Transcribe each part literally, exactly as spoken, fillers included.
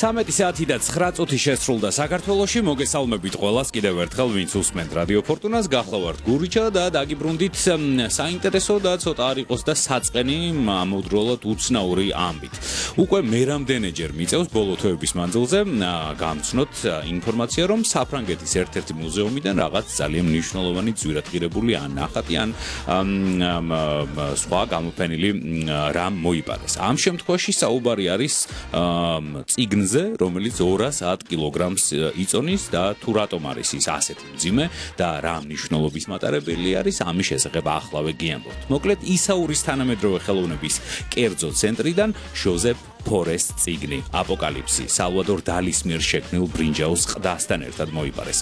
ცამეტი საათი და ცხრა წუთი შესრულდა საქართველოში. მოგესალმებით ყველას კიდევ ერთხელ, ვინც უსმენთ რადიო ფორტუნას. გახლავართ გურიჩა და დაგიბრუნდით საინტერესო და ცოტა არ იყოს და საწყენი ამავდროულად უცნაური ამბით. უკვე მერამდენეჯერ მიწევს ბოლო თვეების მანძილზე გამცნოთ ინფორმაცია, რომ საფრანგეთის ერთ-ერთი მუზეუმიდან რაღაც ძალიან მნიშვნელოვანი ძვირადღირებული ან ნახატი ან სხვა გამოფენილი რამ მოიპარეს. ამ შემთხვევაში საუბარი არის წიგნზე, რომელიც ორას ათ კილოგრამს იწონის და თუ რატომ არის ის ასეთი მძიმე და რა მნიშვნელობის მატარებელი არის, ამის შესახებ ახლავე გიამბობთ. მოკლედ, ისაურის თანამედროვე ხელოვნების კერძო ცენტრიდან ჟოზეფ ფორეს წიგნი აპოკალიფსი სალვადორ დალის მიერ შექმნილ ბრინჯაოს ყდასთან ერთად მოიპარეს.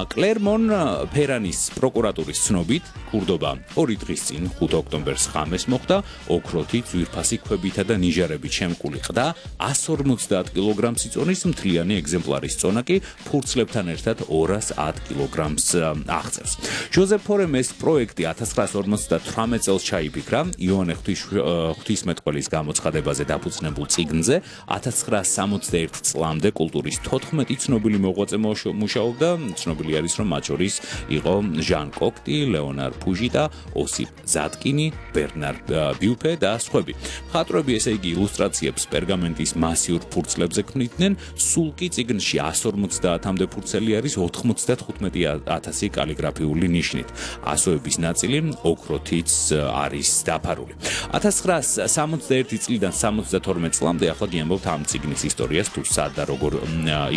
კლერმონ ფერანის პროკურატურის ცნობით, ქურდობა ორი დღის წინ ხუთი ოქტომბერს ღამეს მოხდა, ოქროთი, ძვირფასი ქვებითა და ნიჟარებით შემკული ყდა ასი ორმოცდაათ კილოგრამს იწონის, მთლიანი ეგზემპლარის წონა კი ფურცლებთან ერთად ორას ათ კილოგრამს აღწევს. ჟოზეფ ფორემ ეს პროექტი ათას ცხრაასი ორმოცდათვრამეტ წელს ჩაიფიქრა იოანე ღვთისმეტყველის გამოცხადებაზე დაფუძნებულ წიგნზე. ათას ცხრაასი სამოცდაერთი წლამდე კულტურის თოთხმეტი ცნობილი მოღვაწე მუშაობდა. ცნობილი არის, რომ მათ შორის იყო ჟან კოქტი, ლეონარ ფუჟი და ოსიპ ზატკინი, ბერნარ ბიუფე და სხვები. მხატვრები, ესე იგი, ილუსტრაციებს პერგამენტის მასიურ ფურცლებზე ქმნიდნენ. სულ კი წიგნში ასი ორმოცდაათამდე ფურცელი არის ოთხმოცდათხუთმეტი ათასი კალიგრაფიული ნიშნით. ასოების ნაწილი ოქროთიც არის დაფარული. ათას ცხრაასი სამოცდაერთი წლიდან სამოცდათორმეტ წლამდე ახლა გიამბობთ ამ წიგნის ისტორიას, თუ სად და როგორ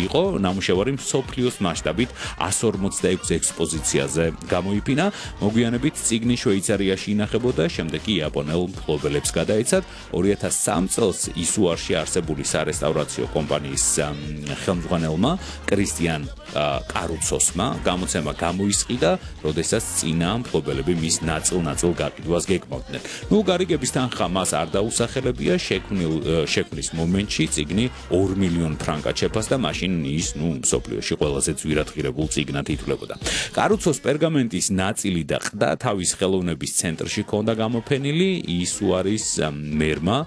იყო. ნამუშევარი მსოფლიოს მასშტაბით ასი ორმოცდაექვსი ექსპოზიციაზე გამოიფინა. მოგვიანებით წიგნი შვეიცარიაში ინახებოდა, შემდეგ კი იაპონელ მფლობელებს გადაეცათ. ორი ათას სამი წელს ისუარში არსებული სარესტავრაციო კომპანიის ხელმძღვანელმა კრისტიან კარუცოსმა გამოცემა გამოისყიდა, როდესაც წინა მფლობელები მის ნაწილ-ნაწილ გაყიდვას გეკმავდნენ. ნუ გარიგების თანხა მას არ დაუსახელებია, შექმნილ შექმნის მომენტში წიგნი ორ მილიონ ფრანკად შეფასდა, მაშინ ის ნუ მსოფლიოში ყველაზე ძვირადღირებულ წიგნად ითვლებოდა. კარუცოს პერგამენტის ნაწილი და ყდა თავის ხელოვნების ცენტრში ჰქონდა გამოფენილი. ის უარის მერმა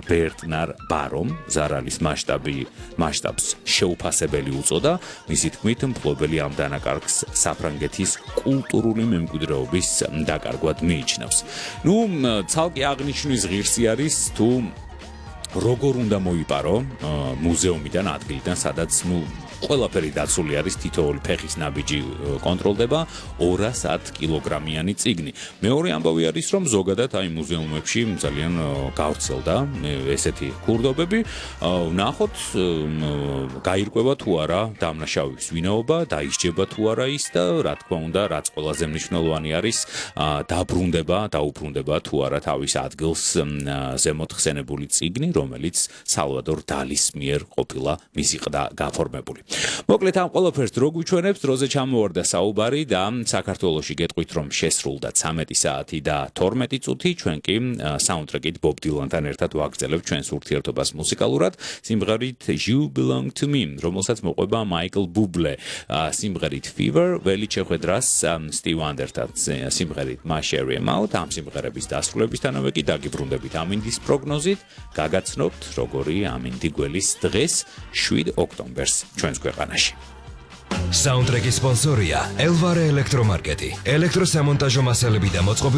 ბერტნარ ბარომ ზარალის მასშტაბი მასშტაბს შეუფასებელი უწოდა. მისი თქმით, მფლობელი ამ დანაკარგს საფრანგეთის კულტურული მემკვიდრეობის დაკარგვად მიიჩნევს. ნუ ცალკე აღნიშნვის ღირსი არის თუ როგორ უნდა მოიპარო მუზეუმიდან, ადგილიდან, სადაც ნუ ყველაფერი დაცული არის, თითოეული ფეხის ნაბიჯი კონტროლდება, ორას ათ კილოგრამიანი წიგნი. მეორე ამბავი არის, რომ ზოგადად აი მუზეუმებში ძალიან გავრცელდა ესეთი ქურდობები. ვნახოთ, გაირკვევა თუ არა დამნაშავის ვინაობა, დაისჯება თუ არა ის და რა თქმა უნდა, რაც ყველაზე მნიშვნელოვანი არის, დაბრუნდება, დაუბრუნდება თუ არა თავის ადგილს ზემოთ ხსენებული წიგნი, რომელიც სალვადორ დალის მიერ ყოფილა მისი ყდა გაფორმებული. მოკლედ, ამ ყველაფერს რო გვიჩვენებს, დროზე ჩამოვარდა საუბარი და საქართველოში გეტყვით, რომ შესრულდა ცამეტი საათი და თორმეტი წუთი. ჩვენ კი საუნდტრეკით ბობ დილანთან ერთად ვაგრძელებთ ჩვენს ურთიერთობას მუსიკალურად სიმღერით You Belong to Me, რომელსაც მოყვება მაიკლ ბუბლე სიმღერით Fever, ველი შეხვედრას სტივ ვანდერთან სიმღერით My Sherry Mouth. ამ სიმღერების დასრულებისთანავე კი დაგიბრუნდებით ამინდის პროგნოზით, გაგაცნობთ როგორი ამინდი გველის დღეს შვიდ ოქტომბერს ჩვენს ქვეყანაში. საუნდტრეკის სპონსორია ელვარე ელექტრომარკეტი. ელექტროსამონტაჟო მასალები და მოწყობილ